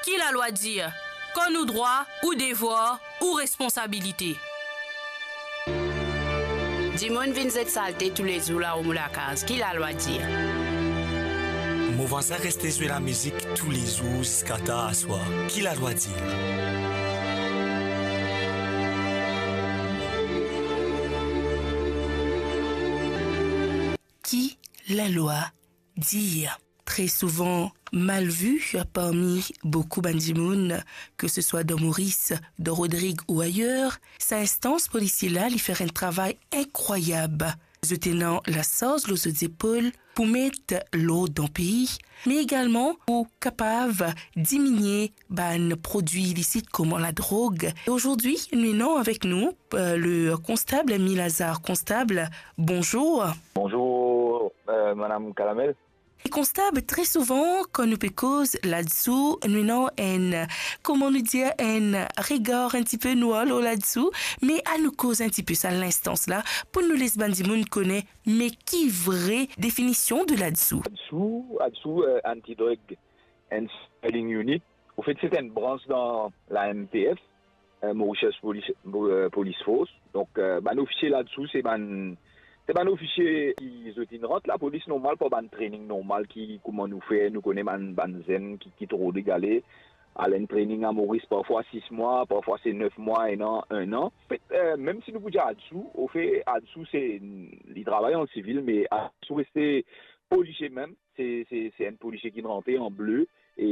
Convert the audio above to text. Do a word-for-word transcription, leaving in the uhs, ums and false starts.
Ki lalwa dir? Kan nou drwa, ou devwar, ou responsabilite. Dimoun vinn zet salte toulezour laor mo lakaz, ki lalwa dir? Mo vwazin reste zwe lamizik toulezour ziska tar aswar, ki lalwa dir? Ki lalwa dir? Tre souvan mal vi parmi boukou bann dimoun, ke se swa dan Moris, dan Rodrig ou ayer, sa instans polisie la, li fer enn travay inkrwayab. Zot ena lasarz lor zot zepol pou met lord dan pei, me egalman pou kapav diminie bann prodwi ilisit kouma ladrog. E azordi, nou ena avek nou, euh, le konstab Emile Lazare. Konstab, bonzour. Bonzour, euh, Madame Calamel. E konstab, tre souvan, kan nou pe koz ladsou, nou ena enn, kouma nou dir, enn regar enn tipe nwar lor ladsou, me anou koz enn tipe sa linstans la, pou nou les bann dimoun kone, me ki vre definision de ladsou? Ladsou, ladsou, euh, Anti-Drug and Smuggling Unit. Anfet, se enn brans dan la M P F, euh, Mauritius Police, euh, Police Force. Donk, euh, bann ofisie ladsou, se bann, se bann ofisie ki zot inn rant lapolis normal par bann training normal ki, kouma nou fer, nou kone bann, bann zenn ki, ki rod egale, al enn training a Moris, parfwa sis mwa, parfwa se nef mwa, enn an, enn an. Anfet, euh, mem si nou pou dir ladsou, anfet, ladsou se, li travay an sivil, me ladsou reste polisie mem, se, se, se enn polisie ki rant an ble, e